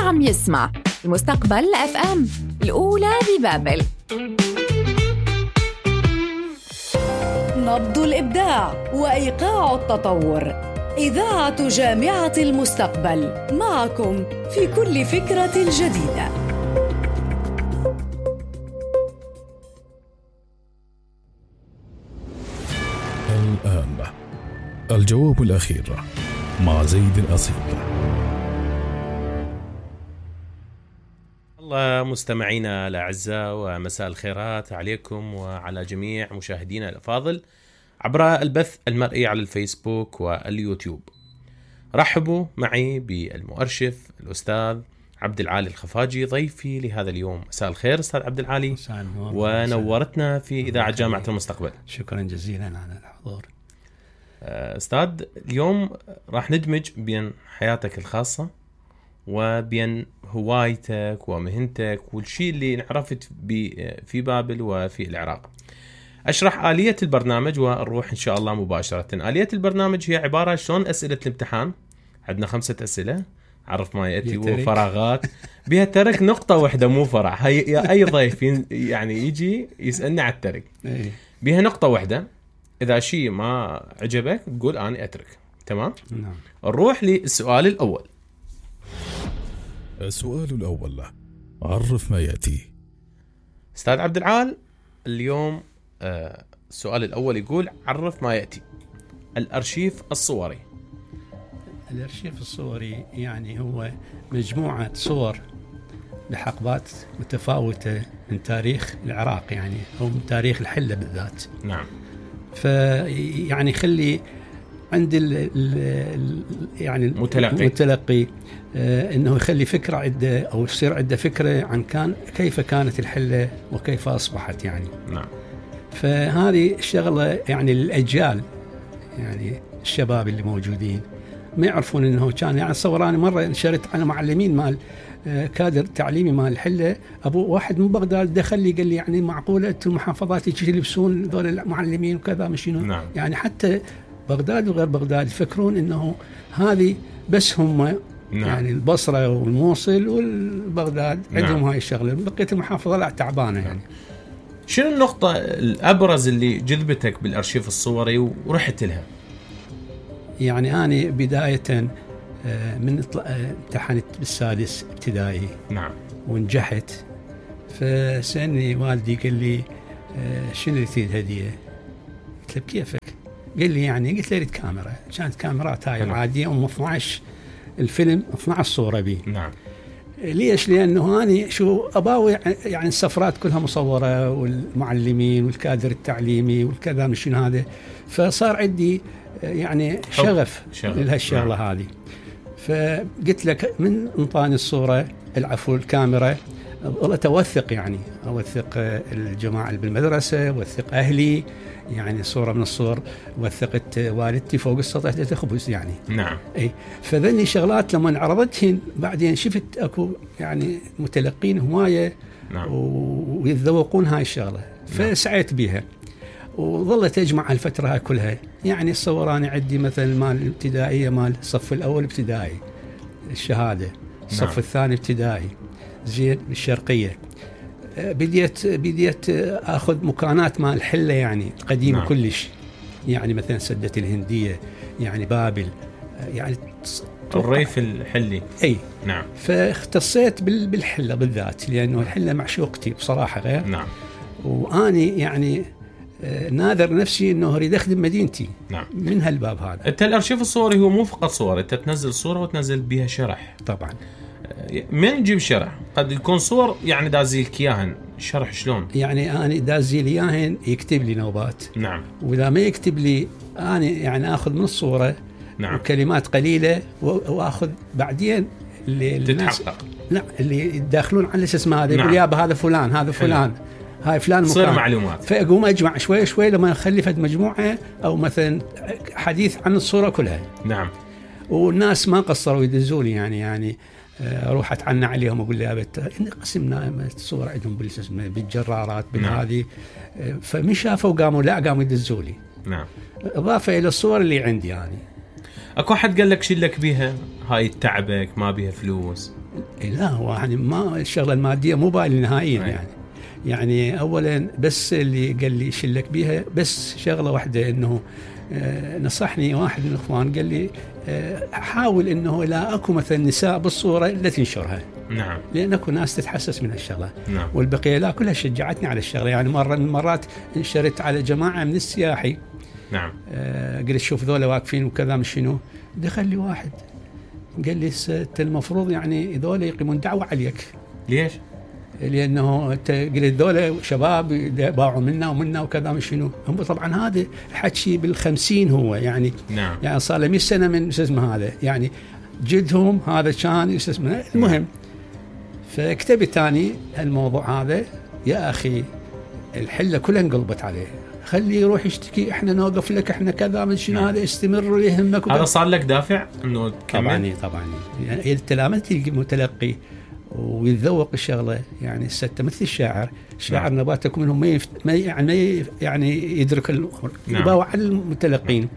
عم يسمع المستقبل FM الأولى ببابل. نبض الإبداع وإيقاع التطور. إذاعة جامعة المستقبل معكم في كل فكرة جديدة. الآن الجواب الأخير مع زيد الأصيل. الله مستمعينا الأعزاء، ومساء الخيرات عليكم وعلى جميع مشاهدينا الأفاضل عبر البث المرئي على الفيسبوك واليوتيوب. رحبوا معي بالمؤرشف الأستاذ عبد العالي الخفاجي ضيفي لهذا اليوم. مساء الخير أستاذ عبد العالي، ونورتنا في إذاعة جامعة المستقبل. شكرا جزيلا على الحضور. أستاذ، اليوم راح ندمج بين حياتك الخاصة وبين هوايتك ومهنتك والشيء اللي انعرفت في بابل وفي العراق. أشرح آلية البرنامج ونروح إن شاء الله مباشرة. آلية البرنامج هي عبارة شلون أسئلة الامتحان. عندنا 5 أسئلة، عرف ما يأتي، وفراغات بها ترك نقطة واحدة مو فرع. هي أي ضيف يعني يجي يسألنا على الترك بها نقطة واحدة. إذا شيء ما عجبك تقول أنا أترك. تمام؟ نعم. نروح للسؤال الأول. السؤال الأول، عرف ما يأتي. أستاذ عبد العال، اليوم السؤال الأول يقول عرف ما يأتي. الأرشيف الصوري. الأرشيف الصوري يعني هو مجموعة صور لحقبات متفاوتة من تاريخ العراق، يعني أو من تاريخ الحلة بالذات. نعم. فيعني خلي عند يعني المتلقي انه يخلي فكره عده، او يصير عنده فكره عن كيف كانت الحله وكيف اصبحت يعني. نعم. فهذه الشغله يعني للاجيال، يعني الشباب اللي موجودين ما يعرفون انه كان. يعني صوراني مره نشرت على معلمين مال كادر تعليمي مال الحله، ابو واحد من بغداد دخل لي قال لي يعني معقوله انتم المحافظات يلبسون ذول المعلمين وكذا مشينو؟ نعم. يعني حتى بغداد وغير بغداد يفكرون انه هذه بس هم. نعم. يعني البصره والموصل والبغداد عندهم. نعم. هاي الشغله، بقيه المحافظه لا تعبانه يعني. شنو النقطه الابرز اللي جذبتك بالارشيف الصوري ورحت لها؟ يعني انا بدايه من امتحنت بالسادس ابتدائي. نعم. ونجحت. فسألني والدي قال لي شنو اللي تريد هديه؟ قلت له بكيفك؟ قال لي يعني، قلت له اريد كاميرا. كانت كاميرات هاي العاديه ام 12 الفيلم 12 صوره بي. نعم. ليش؟ لانه اني شو اباوي يعني السفرات كلها مصوره والمعلمين والكادر التعليمي والكذا مشين هذا، فصار عندي يعني شغف لهالشغله. نعم. هذه. فقلت لك من انطاني الصوره العفو الكاميرا والله اوثق، يعني اوثق الجماعه اللي بالمدرسه، اوثق اهلي، يعني صوره من الصور وثقت والدتي فوق السطح تخبز يعني. نعم. اي فذني شغلات لما عرضتهن بعدين شفت اكو يعني متلقين هوايه. نعم. ويتذوقون هاي الشغله. فسعيت بها وظلت اجمع الفتره هاي كلها. يعني الصوراني عندي مثلا مال الابتدائيه، مال الصف الاول ابتدائي الشهاده، الصف. نعم. الثاني ابتدائي زين بالشرقيه. بديت اخذ مكانات مال الحله يعني قديمه. نعم. كلش يعني مثلا سده الهنديه، يعني بابل، يعني الريف الحلي. اي. نعم. فاختصيت بالحله بالذات لانه الحله معشوقتي بصراحه غير. نعم. واني يعني ناذر نفسي انه اريد اخدم مدينتي. نعم. من هالباب هذا. انت الارشيف الصوري هو مو فقط صور، انت تنزل صوره وتنزل بها شرح. طبعا. من نجيب شرح؟ قد يكون صور يعني دازيلك اياهن، شرح شلون؟ يعني انا دازيل اياهن يكتب لي نوبات. نعم. واذا ما يكتب لي انا يعني اخذ من الصوره. نعم. وكلمات قليله واخذ بعدين اللي تتحقق. لا اللي يدخلون على اسمه هذا. يقول يابا هذا فلان، هذا فلان، هاي فلان مكان. تصير معلومات. فاقوم اجمع شوي شوي لما اخلي فد مجموعه او مثلا حديث عن الصوره كلها. نعم. والناس ما قصروا يدزوا لي يعني اروح اتعنى عليهم اقول لي قسمنا الصور عندهم بالجرارات بالهذه. فمن شافوا قاموا يدزوا لي. نعم. اضافه الى الصور اللي عندي يعني. اكو حد قال لك شيل لك بيها هاي تعبك ما بيها فلوس؟ لا هو يعني ما الشغله الماديه مو بالي نهائيا يعني اولا بس اللي قال لي شلك بيها بس شغله واحده انه نصحني واحد من الاخوان قال لي حاول انه لا اكو مثلا نساء بالصوره لا تنشرها. نعم. لان اكو ناس تتحسس من هالشغله. نعم. والبقيه لا كلها شجعتني على الشغله يعني مره من المرات انشرت على جماعه من السياحي. نعم. قلت شوف ذولا واقفين وكذا مش شنو دخل لي واحد قال لي انت المفروض يعني ذولا يقيمون دعوه عليك. ليش؟ لانه انت قلت ذولا شباب باعوا منا ومنا وكذا مش شنو هم طبعا هذا الحكي بال50 هو يعني. نعم. يعني صار له 100 سنه من اسمه هذا يعني جدهم هذا كان اسمه المهم. فكتبت ثاني الموضوع هذا يا اخي الحله كلها انقلبت عليه خليه يروح يشتكي احنا نوقف لك احنا كذا من شنو هذا استمر ويهمك هذا صار لك دافع انه تكمل. طبعا يعني انت لما تلقى متلقي ويتذوق الشغله يعني السته مثل الشاعر نباتك منهم ما يعني يدرك الامر. يباوع على المتلقين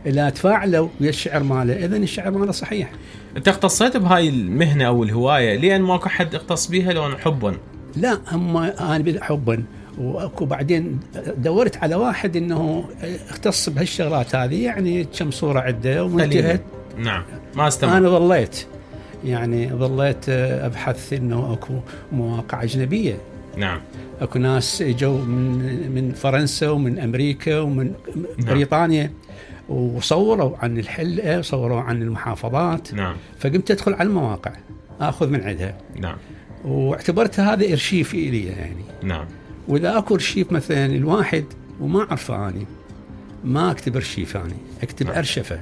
اذا تفاعلوا ويا الشعر ماله اذا الشعر ماله صحيح. انت اختصيت بهاي المهنه او الهوايه لان ماكو حد اختص بيها لو حبا؟ لا هم انا حبا واكو بعدين دورت على واحد انه اختص بهالشغلات هذه يعني كم صوره عده وانتهت. نعم. ما استمر. انا ظليت ابحث انه اكو مواقع اجنبيه. نعم. اكو ناس اجوا من فرنسا ومن امريكا ومن بريطانيا وصوروا عن الحلقه وصوروا عن المحافظات. نعم. فقمت ادخل على المواقع اخذ من عندها. نعم. واعتبرتها هذا ارشيف الي يعني. نعم. واذا اكو ارشيف مثلا الواحد وما اعرفه اني ما اكتب ارشيف اني اكتب. نعم. ارشفه.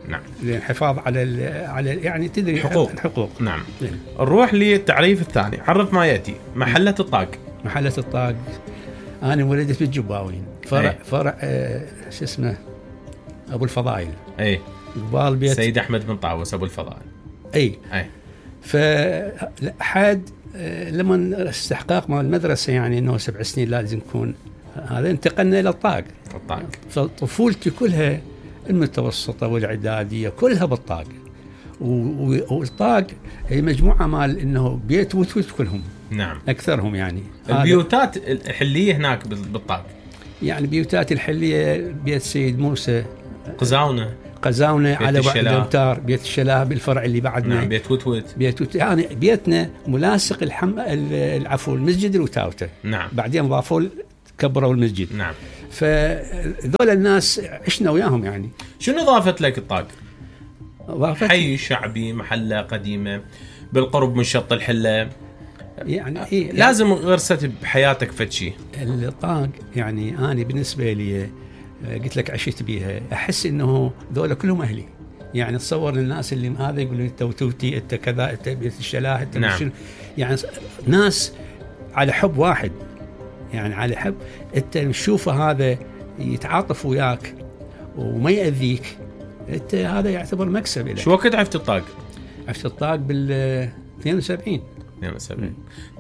نعم. للحفاظ على يعني تدري الحقوق. نعم. نروح للتعريف الثاني. عرف ما ياتي. محله الطاق. محله الطاق انا ولدت بالجباوين فرع شو اسمه ابو الفضائل. اي قبال بيت سيد احمد بن طاووس ابو الفضائل. اي فحد لما استحقاق مال المدرسه يعني انه 7 سنين لازم يكون هذا انتقلنا الى الطاق. فطفولتي كلها المتوسطه والاعداديه كلها بالطاق. والطاق هي مجموعه مال انه بيت وتوت كلهم. نعم. اكثرهم يعني. البيوتات الحليه هناك بالطاق يعني بيوتات الحليه بيت سيد موسى قزاونه على بعد الامتار بيت الشلاه بالفرع اللي بعدنا. نعم. بيت وتوت يعني بيتنا ملاصق العفو المسجد الوتاوته. نعم. بعدين ضافوا كبروا المسجد. نعم. فذول الناس عشنا وياهم يعني. شنو ضافت لك الطاق؟ حي شعبي محله قديمه بالقرب من شط الحله يعني لازم غرست بحياتك فشي. الطاق يعني انا بالنسبه لي قلت لك عشت بيها احس انه ذولا كلهم اهلي يعني. تصور الناس اللي هذا يقولون انت وتوتي انت كذا انت بيت الشلاه انت. نعم. يعني ناس على حب واحد يعني على حب انت تشوفه هذا يتعاطف وياك وما يأذيك انت هذا يعتبر مكسب لك. شو وقت عرفت الطاق؟ عرفت الطاق بال 72.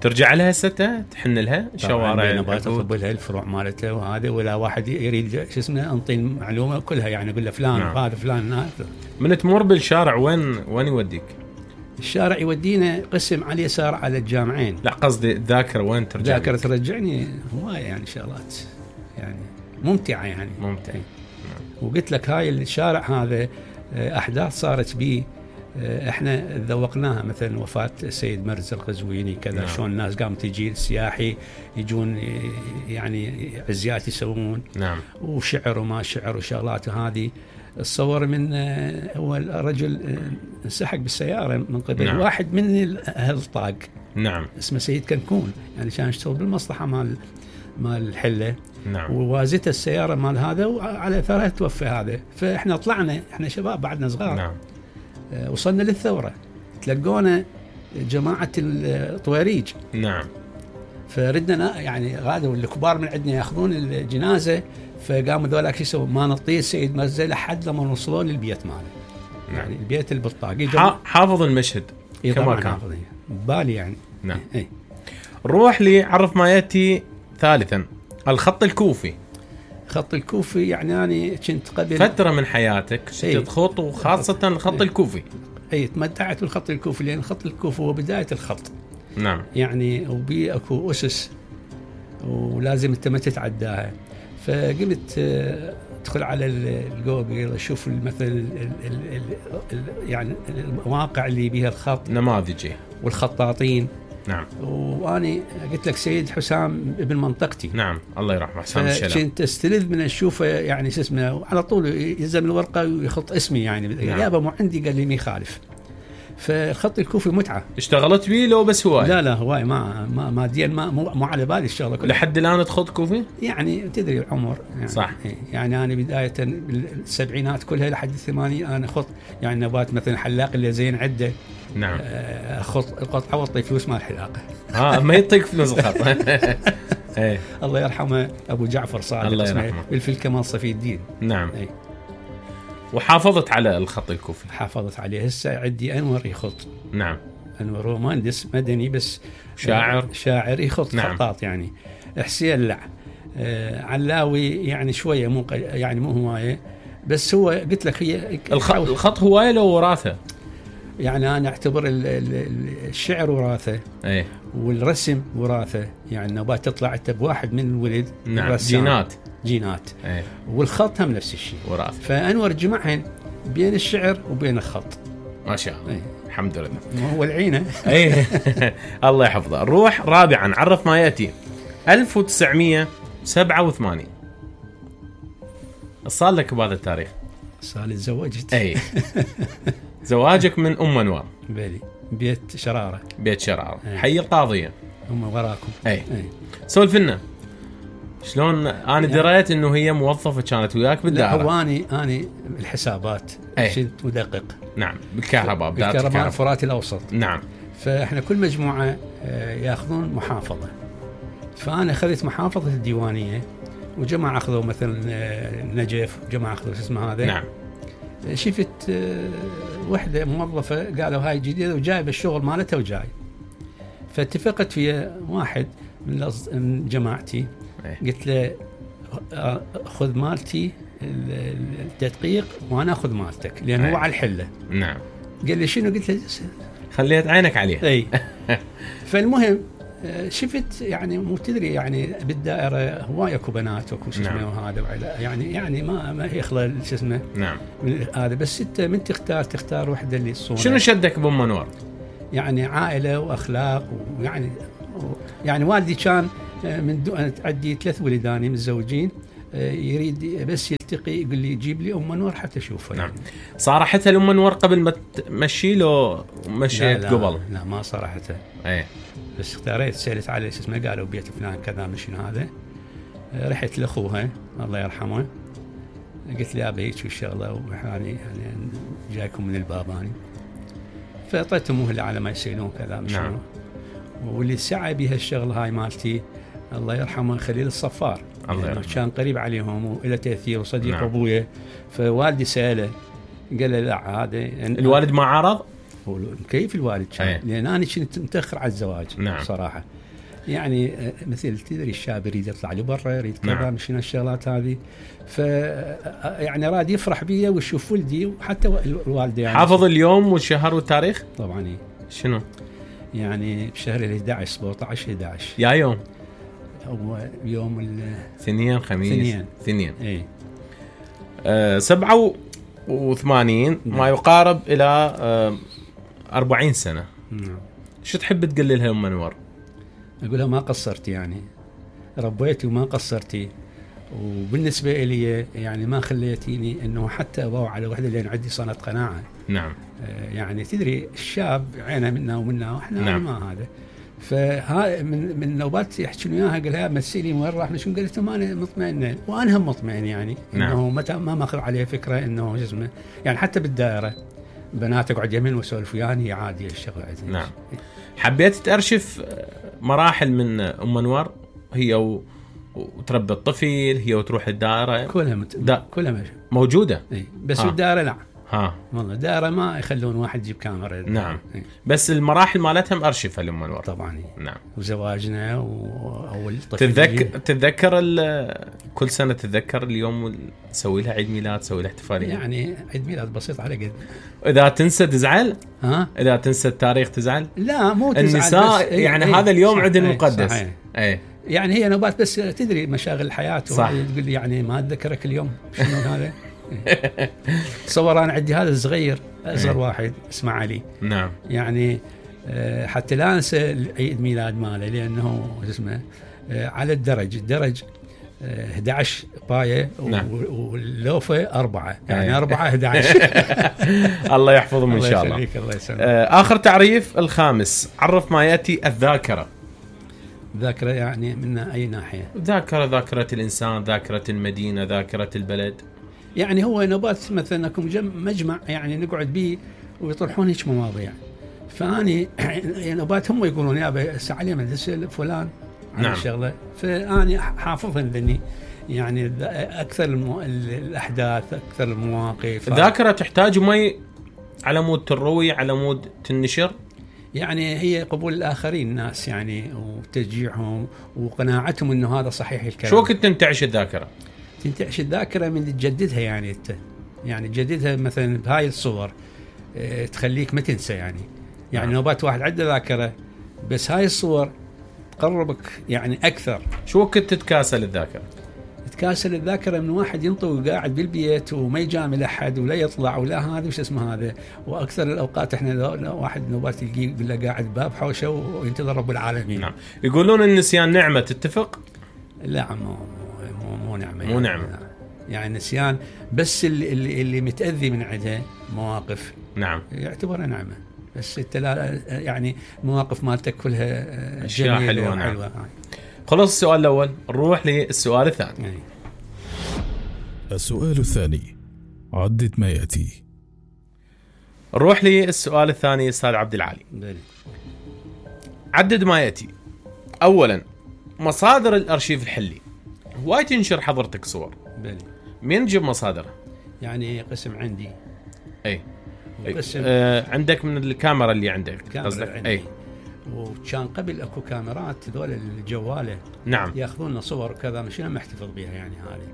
ترجع لها ستة تحن لها الشوارع نبات اطب لها الفروع مالتها وهذا ولا واحد يريد شو اسمه انطي المعلومه كلها يعني اقول له فلان. نعم. هذا فلان. من تمر بالشارع وين يوديك؟ الشارع يودينا قسم على اليسار على الجامعين. لا قصدي الذاكره وين ترجع؟ ذاكره ترجعني هوايه يعني شغلات يعني ممتعه يعني. ممتع. وقلت لك هاي الشارع هذا احداث صارت بيه احنا ذوقناها مثلا وفاه السيد مرز القزويني كذا. نعم. شلون الناس قامت تجي السياحي يجون يعني عزيات يسوون. نعم. وشعر وما شعر وشغلات هذه. الصور من اول رجل انسحق بالسياره من قبل. نعم. واحد من اهل الطاق. نعم. اسمه سيد كنكون يعني كان يشتغل بالمصلحه مال الحله. نعم. ووازته السياره مال هذا وعلى اثرها توفى هذا. فاحنا طلعنا احنا شباب بعدنا صغار. نعم. وصلنا للثوره تلقونا جماعه الطويريج. نعم. فردنا يعني غادوا الكبار من عندنا ياخذون الجنازه. فقاموا ذولاك شو يسوون ما نطيه السيد مرزا لحد لما وصلوا للبيت ماله. نعم. يعني البيت البطاقي حافظ المشهد كما كان بالي يعني. نعم. نروح لعرف ما ياتي ثالثا. الخط الكوفي. خط الكوفي يعني أنا كنت قبل فترة من حياتك تخط وخاصة الخط الكوفي. اي تمتعت بالخط الكوفي، لان الخط الكوفي هو بدايه الخط. نعم. يعني وبي اكو اسس ولازم انت ما تتعداها. فقمت ادخل على الجوجل اشوف مثلا يعني المواقع اللي بيها الخط، نماذجي والخطاطين. نعم. واني قلت لك سيد حسام ابن منطقتي. نعم الله يرحمه حسام الشلام. كنت استلذ من اشوفه يعني شو اسمه، على طول يلزم الورقه ويخط اسمي يعني. نعم. يابا مو عندي، قال لي ما يخالف. فالخط الكوفي متعه. اشتغلت بيه لو بس هواي؟ لا هواي ما ماديا مو على بالي الشغله كلها. لحد الان تخط كوفي؟ يعني تدري العمر يعني. صح. يعني انا بدايه بالسبعينات كلها لحد الثمانين انا اخط يعني نبات مثلا حلاق اللي زين عده. نعم. اخط القطعه واعطي فلوس مال الحلاقه. ما يعطيك فلوس الخط. ايه الله يرحمه ابو جعفر صادق، الله اسمه يرحمه. بالفلكه مال صفي الدين. نعم. اي وحافظت على الخط الكوفي؟ حافظت عليه. هسه عندي انور يخط. نعم. انور هو مهندس مدني بس شاعر يخط. نعم. خطاط يعني. حسين لا علاوي يعني شويه مو يعني مو هوايه، بس هو قلت لك هي الخط هوايه لو وراثه. يعني انا اعتبر الشعر وراثه. ايه. والرسم وراثه، يعني نبات تطلع انت بواحد من الولد. نعم. جينات. ايه. والخط هم نفس الشيء وراثه. فانور جمعهن بين الشعر وبين الخط. ما شاء الله. ايه. الحمد لله. ما هو العينه. ايه. الله يحفظه. نروح رابعا، عرف ما ياتي. 1987 صار لك بهذا التاريخ؟ صار لي تزوجت. اي. زواجك من ام انوار. بلي بيت شراره. حي القاضيه. هم وراكم. اي. سولف لنا شلون انا دريت انه هي موظفه كانت وياك بالدائره؟ لا هو اني الحسابات كنت مدقق. نعم. بالكهرباء الفرات الاوسط. نعم. فاحنا كل مجموعه ياخذون محافظه، فانا اخذت محافظه الديوانيه، وجماعه اخذوا مثلا نجف، وجماعه اخذوا اسمه هذا. نعم. شفت وحده موظفه قالوا هاي جديده وجايبه الشغل مالتها وجاي، فاتفقت فيها واحد من جماعتي. قلت له خذ مالتي التدقيق وانا اخذ مالتك، لان هو على الحله. نعم. قال لي شنو؟ قلت له خليت عينك عليه. اي. فالمهم شفت يعني مو تدري يعني بالدائره هواي اكو بنات واكو شو اسمه. نعم. وهذا يعني ما يخلى شو اسمه. نعم. هذا بس انت من تختار وحده اللي تصون. شنو شدك بام انوار؟ يعني عائله واخلاق، ويعني يعني والدي كان من عندي 3 ولداني متزوجين، يريد بس يلتقي يقول لي جيب لي ام انور حتى اشوفها. نعم. صارحتها الام انور قبل ما تمشي له مشيت قبل؟ لا ما صارحتها. ايه. بس اختاريت سالت على اسمه، قالوا بيت فلان كذا مشين هذا. رحت لاخوها الله يرحمه، قلت لي ابي هيك الشغله يعني جايكم من الباب اني. فاعطيتهم مهله على ما يسيلون كذا مشين. نعم. واللي سعى بها الشغله هاي مالتي الله يرحمه خليل الصفار، يعني كان قريب عليهم وله تاثير وصديق. نعم. ابويا. فوالدي ساله قال له لا هذا الوالد ما عرض. كيف الوالد كان؟ لان انا كنت متاخر على الزواج. نعم. صراحه يعني مثل تدري الشاب يريد يطلع لبرا، يريد كذا. نعم. مشينا الشغلات هذه. ف يعني راد يفرح بي ويشوف ولدي وحتى الوالده. يعني حافظ اليوم والشهر والتاريخ؟ طبعا. إيه. شنو؟ يعني بشهر 11 17 11 يا يوم هو يوم الاثنين خميس اثنين. اي. 87 ما يقارب الى 40 سنه. نعم. شو تحب تقول لها ام انور؟ اقولها ما قصرتي، يعني ربيتي وما قصرتي، وبالنسبه لي يعني ما خليتيني انه حتى ابوع على وحده لان عندي صنعه قناعه. نعم. يعني تدري الشاب عينه منا ومنا واحنا. نعم. ما هذا. فها من نوبات يحكون وياها قال لها مسيلي وين راح شنو؟ قالت له انا مطمئنه وانا هم مطمئن يعني. نعم. انه متى ما ماخذ عليه فكره انه جسمه يعني حتى بالدائره بنات اقعد يمين واسولف وياني عادي الشغله عندي. نعم. حبيت تأرشف مراحل من ام انور هي وتربي الطفل، هي وتروح الدائره كلها كلها موجوده. اي. بس الدائره لا ها والله دائره ما يخلون واحد يجيب كاميرا. نعم. بس المراحل مالتها مأرشفة لما نور. طبعا. نعم. وزواجنا واول طفل تتذكر كل سنة تتذكر اليوم تسوي لها عيد ميلاد، تسوي لها احتفالية؟ يعني عيد ميلاد بسيط على قد. إذا تنسى تزعل؟ ها؟ إذا تنسى التاريخ تزعل؟ لا مو تزعل. النساء يعني هذا اليوم عندنا مقدس. أي. يعني هي نوبات بس تدري مشاغل الحياة. تقول لي يعني ما أتذكرك اليوم شنو هذا. تصور أنا عندي هذا الصغير أصغر واحد اسمه علي. نعم. يعني حتى لا أنسى عيد ميلاد ماله لأنه اسمه على الدرج 11 باية. نعم. واللوفة 4 يعني 4 11. الله يحفظهم إن شاء الله. الله يسلمك. آخر تعريف الخامس، عرف ما يأتي الذاكرة. ذاكرة يعني من أي ناحية؟ ذاكرة الإنسان، ذاكرة المدينة، ذاكرة البلد. يعني هو نوبات مثلا أكون مجمع يعني نقعد به ويطرحون هيك مواضيع، فاني نوبات هم يقولون يا سعلي مدرسة فلان عن نعم. الشغلة، فاني حافظهم ذني يعني اكثر الاحداث، اكثر المواقف. الذاكرة تحتاج مي على مود تروي، على مود تنشر. يعني هي قبول الآخرين الناس يعني وتشجيعهم وقناعتهم إنه هذا صحيح الكلام. شو كنت تنتعش الذاكرة؟ تنتعش الذاكرة من تجددها يعني أنت يعني تجددها مثلا بهاي الصور تخليك ما تنسى يعني نوبات واحد عنده ذاكرة بس هاي الصور تقربك يعني أكثر. شو كنت تتكاسل الذاكرة؟ تكاسل الذاكرة من واحد ينطوي قاعد بالبيت وما يجامل أحد ولا يطلع ولا هذا وش اسمه هذا. وأكثر الأوقات إحنا واحد نوبات يلقيه يقول له قاعد باب حوشه وينتظر رب العالمين. نعم. يقولون النسيان نعمة، تتفق؟ لا مو نعمة. مو نعمة يعني نسيان بس اللي متأذي من عده مواقف. نعم. يعتبرها نعمة، بس انت لا يعني مواقف مالتك كلها أشياء حلوة. نعم. خلص السؤال الأول، نروح للسؤال الثاني. يعني. السؤال الثاني، عدد ما يأتي. نروح للسؤال الثاني أستاذ عبد العالي. عدد ما يأتي. أولا، مصادر الأرشيف الحلي. هواي تنشر حضرتك صور. بلي. مين تجيب مصادرها؟ يعني قسم عندي. أي. قسم. عندك من الكاميرا اللي عندك قصدك؟ أي. وكان قبل اكو كاميرات ذول الجواله. نعم. ياخذون لنا صور وكذا مش انا محتفظ بها يعني هذه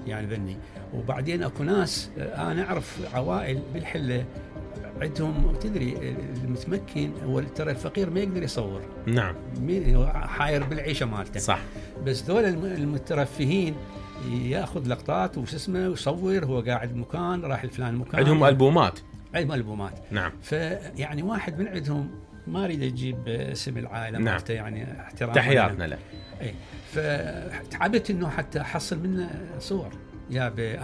يعني ذني. وبعدين اكو ناس انا اعرف عوائل بالحله عندهم تدري المتمكن هو ترى الفقير ما يقدر يصور. نعم. حاير بالعيشه مالته. صح. بس ذول المترفهين ياخذ لقطات وش اسمه ويصور هو قاعد بمكان راح الفلان مكان. عندهم البومات. عندهم البومات. نعم. فيعني واحد من عندهم ما اريد اجيب اسم العائله مالته يعني احترام. تحياتنا له. اي فتعبت انه حتى احصل منه صور يا